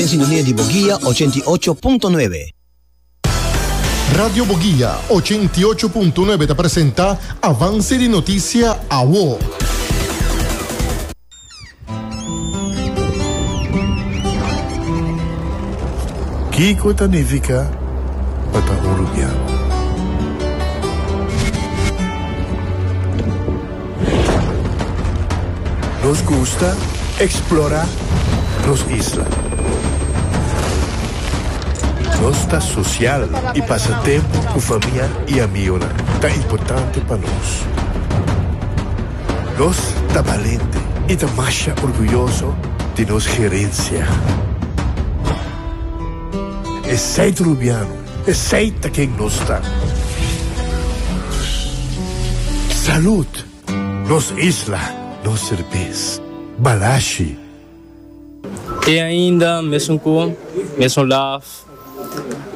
Den sintonia di Boguia 88.9. Radio Boguia 88.9 ta presenta Avance di Noticia Awo. Kiko ta nifiká pa ta un rubiano? Nos gusta eksplorá nos isla. Nos ta sosial i pasa tempu ku famia i amigonan ta importante pa nos. Nos ta balente i ta masha orguyoso di nos gerensia. Esei ta Rubiano, esei ta ken nos ta. Salud! Nos isla, nos serbes. Balashi. Te ainda mesun ku mesun laf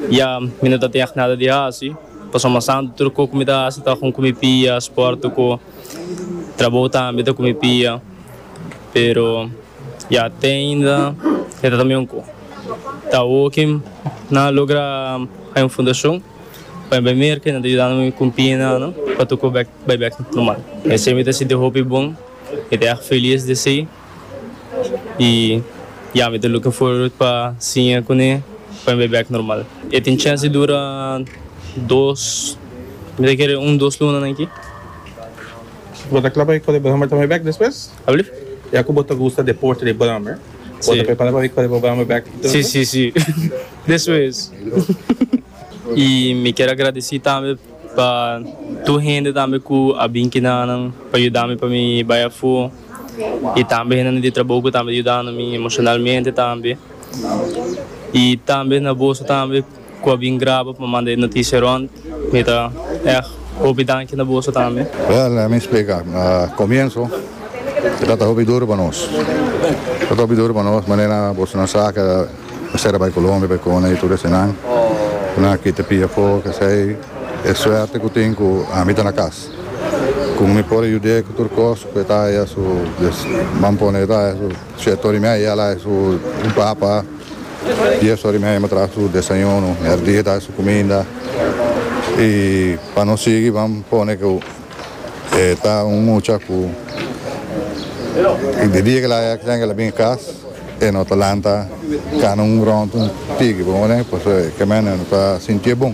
ya mi no ta tin echt nada di hasi pasobra mas tantu tur kos ku mi ta hasi ta ku mi pia, sport ku trabou tambe ta ku mi pia pero ya te ainda e ta tambe un ku ta awoki nan a logra haña un fundashon pa mi bai merka i nan ta yuda mi ku pia nan pa tur kos bek. Bai bek normal. Esei mi ta sinti hopi bon, mi ta ègt felis di esei i ya mi ta looking forward pa siña kuné pa mi bai bek normal. E tin chèns di dura dos, mi ta kere un dos lunanan aki. Bo ta kla pa e kore brommer ta bai bek despues? Alblief? Ya ku bo ta gusta deporte di brommer, bo ta prepara pa bai kore bo brommer bek? Si, si, si. Despues. I mi kier a gradisí tambe. Pa tur hende tambe ku a bin kinanan pa yuda mi pa mi bai afó i tambe hendenan di trabou ku tambe yudando mi emoshonalmente tambe i tambe na boso tambe ku a bin graba pa manda e notisia rònt mi ta ègt hopi danki na boso tambe. Wèl, laat mi splika. Na komienso e tabata hopi duru pa nos. E tabata hopi duru pa nos manera boso nan sa ke Mester a bai Colombia bai kone i tur esenan. Nan a kita pia afó kesei e suerte ku tin ku ami ta na kas. Ku mi por a yud'é ku tur kos ku e ta haya su ban pone e ta haya su shete ora i media el a haya su un papa dies ora i media mi a traha su desayuno mèrdia e ta haya su kuminda i pa nos sigui ban pone ku E ta un mucha ku di dia ku el a accident ku el a bin kas e no ta lanta kana un rond un tiki bo comprende pasobra e kemen e no ta sintié bon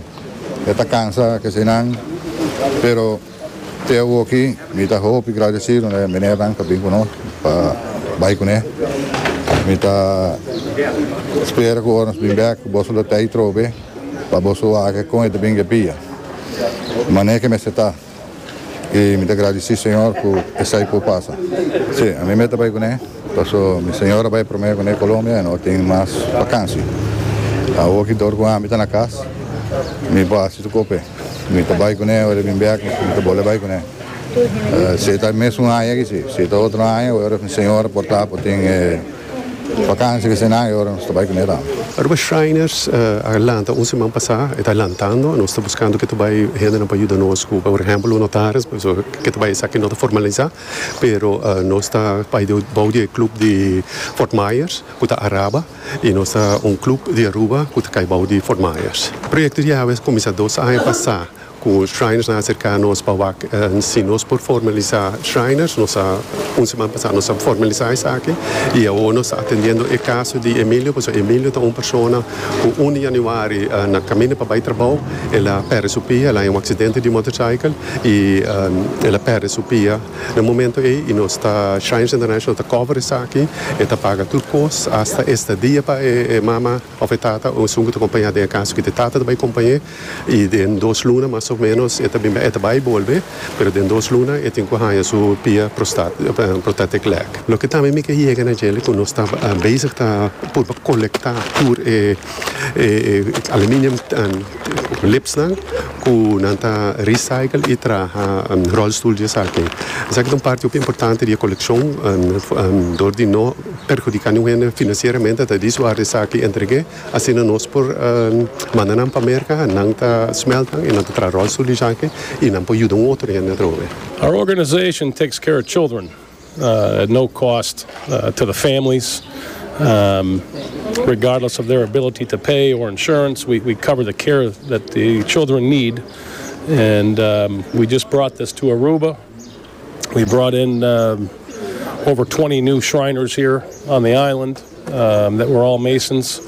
e ta kansa kesinan pero te awoki mi ta hopi gradesido na e menernan ku a bin ku nos pa bai kuné mi ta spera ku ora nos bin bek boso lo ta ei trobe pa boso wak kon e ta bin gepia manera ke mester ta. I mi ta gradisí Señor ku esei por pasa. Sí, ami mester bai kuné, paso mi señora bai promé kuné Colombia i no tin mas vakansi. Awor ki dor ku ami ta na kas, mi por hasi tur kope. Mi ta bai kuné, ora e bin bèk mi ta bolbe bai kuné. Si e ta mesun aña aki si, si e ta otro aña ora mi señora por ta por tin e. Vakantie ke senan e ora nos ta bai kuné tambe. Aruba Shriners a lanta un siman pasá, e ta lantando, nos ta buskando ke ta bai hendenan pa yuda nos ku por ehèmpel un notaris, pasobra ke ta bai esaki no ta formalisá, pero nos ta bai bou di e klup di Fort Myers ku ta Araba i nos ta un klup di Aruba ku ta kai bou di Fort Myers. Proyekto di awe a kuminsá dos aña pasá. Ku Shriners nan a aserká nos pa wak si nos por formalisá Shriners. Nos a un siman pasá nos a formalisá esaki i awor nos ta atendiendo e kaso di Emilio pasobra Emilio ta un persona ku un di yanüari na kaminda pa bai trabou el a pèrdè su pia, el a haña un aksidente di motorcycle i el a pèrdè su pia na e momento ei i nos ta Shriners International ta cover esaki, e ta paga tur kos asta estadia pa e mama òf e tata o esun ku ta kompañá den e kaso ku e tata ta bai kompañ'é. I den dos luna mas o menos e ta bin e ta bai bolbe, pero den dos luna e tin ku haña su pia prothetic leg. Loke tambe mi ke yega na djele ku nos ta bezig ta purba kolektá tur e aluminium lipsnan ku nan ta recycle i traha rolstoel di esaki. Esaki ta un parti hopi importante di e kolekshon dor di no perhudiká niun hende finansieramente ta di su esaki entreg'é. Asina nos por manda nan pa Merca, nan ta smelt nan y nan ta traha rolstoel di esaki y nan por yuda un otro hende atrobe. Our organization takes care of children at no cost to the families. Um, regardless of their ability to pay or insurance, we, we cover the care that the children need. And um, we just brought this to Aruba. We brought in um, over 20 new Shriners here on the island um, that were all Masons.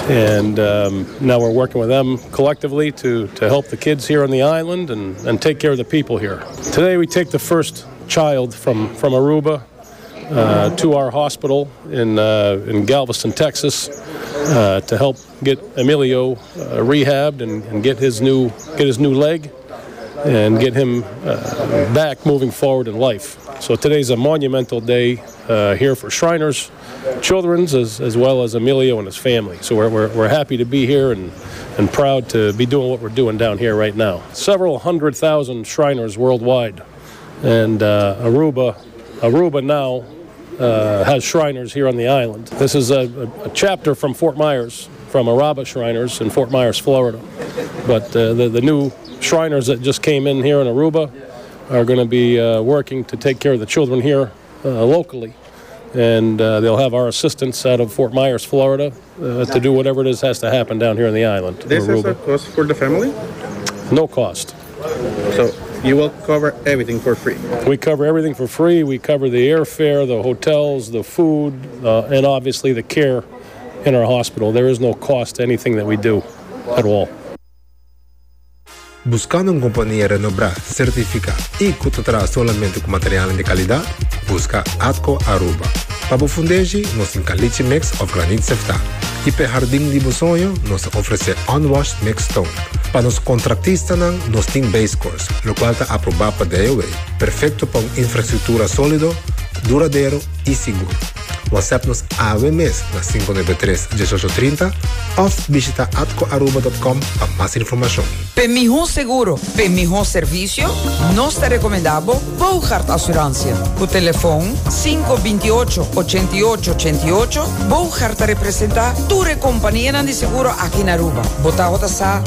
And um, now we're working with them collectively to, to help the kids here on the island and, and take care of the people here. Today we take the first child from, from Aruba uh, to our hospital in, uh, in Galveston, Texas, uh, to help get Emilio uh, rehabbed and, and get his new get his new leg and get him uh, back moving forward in life. So today's a monumental day uh, here for Shriners Children's as, as well as Emilio and his family. So we're, we're, we're happy to be here and, and proud to be doing what we're doing down here right now. Several 100,000 Shriners worldwide. And uh, Aruba, Aruba now uh, has Shriners here on the island. This is a, a, a chapter from Fort Myers, from Araba Shriners in Fort Myers, Florida. But uh, the, the new Shriners that just came in here in Aruba are going to be uh, working to take care of the children here uh, locally. And uh, they'll have our assistance out of Fort Myers, Florida, uh, to do whatever it is has to happen down here on the island. This Aruba. is a cost for the family? No cost. So you will cover everything for free? We cover everything for free. We cover the airfare, the hotels, the food, uh, and obviously the care in our hospital. There is no cost to anything that we do at all. Buscando un compania renombra, certifica y cu ta traha solamente cu materialnan di calidad? Busca Atco Aruba. Pa bo fundeshi, nos tin caliche mix of graniet sefta. Y p'e hardin di bo soño, nos ta ofrece unwashed mixed stone. Pa nos contractistanan, nos tin base course, locual ta aproba pa DOW, perfecto pa un infrastructura solido, duradero y sigur. WhatsApp nos awe mes na 593 1830 of bishita atcoaruba.com pa mas informacion. P'e mihó seguro, p'e mihó servisio, nos ta rekomendá bo Boogaard Assurantie. Ku telefon 528 88 88, Boogaard ta representá tur e kompanianan di seguro aki na Aruba. Bo tabata sa?